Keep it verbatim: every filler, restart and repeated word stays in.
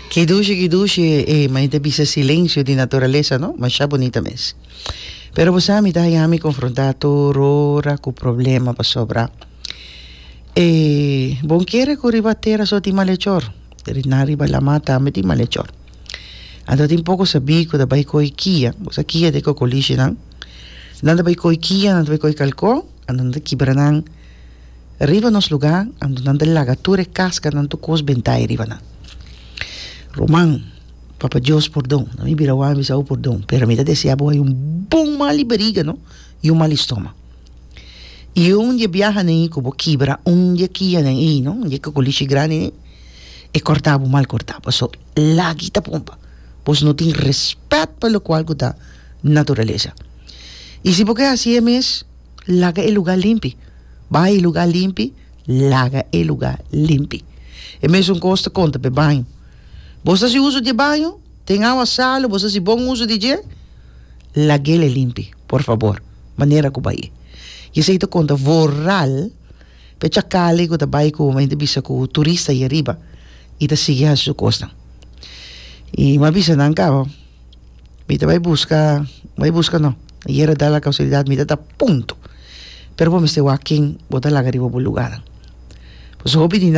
Ki dushi, ki dushi, eh, ma ta bisa silensio di naturalesa, no? Masha bunita mes. Pero bo mi ta mi konfrontá tur ora ku problema pasobra. Eh, bo n' kere ku riba tera so tin malechor. Na riba laman tambe tin malechor. Anto tin poko sabí ku ta bai koi kia, bo sa kia ta e kokolishinan. Nan ta bai koi kia, nan ta bai koi kalkon, anto nan ta kibra nan riba nos lugá, anto nan ta laga tur e kaskanan, tur kos bentá riba nan. Ruman, Papa Dios pordon. No mi bira wak bisa pordon, pero mi ta deseá bo un bon mal bariga, no? I un mal stoma. I un dia biaha ku bo kibra, un dia kia nei, no? Un dia kokolishi grandi, e kòrta bo mal kòrtá. So lag'i ta pompa. Boso no tin rèspèt pa loke ku ta naturalesa. I si bo ke hasi mes, laga e lugá limpi. Bai lugá limpi, laga e lugá limpi. E mesun kos ta konta pa baño. Bo ta hasi uso di baño, tin awa salu, bo ta hasi bon uso di dje, lag'é limpi, por fabor. Manera ku bai. I esei ta konta vooral, pe chakale ku ta bai ku hende bisa ku turista ei ariba, i ta sigui hasi su kosnan. I m'a bisa nan kaba, mi ta bai buska, bai buska no. Ayera da la kasualidat, mi ta punto. Pero bo mester wak ken bo ta laga riba bo lugá. Pues hopi di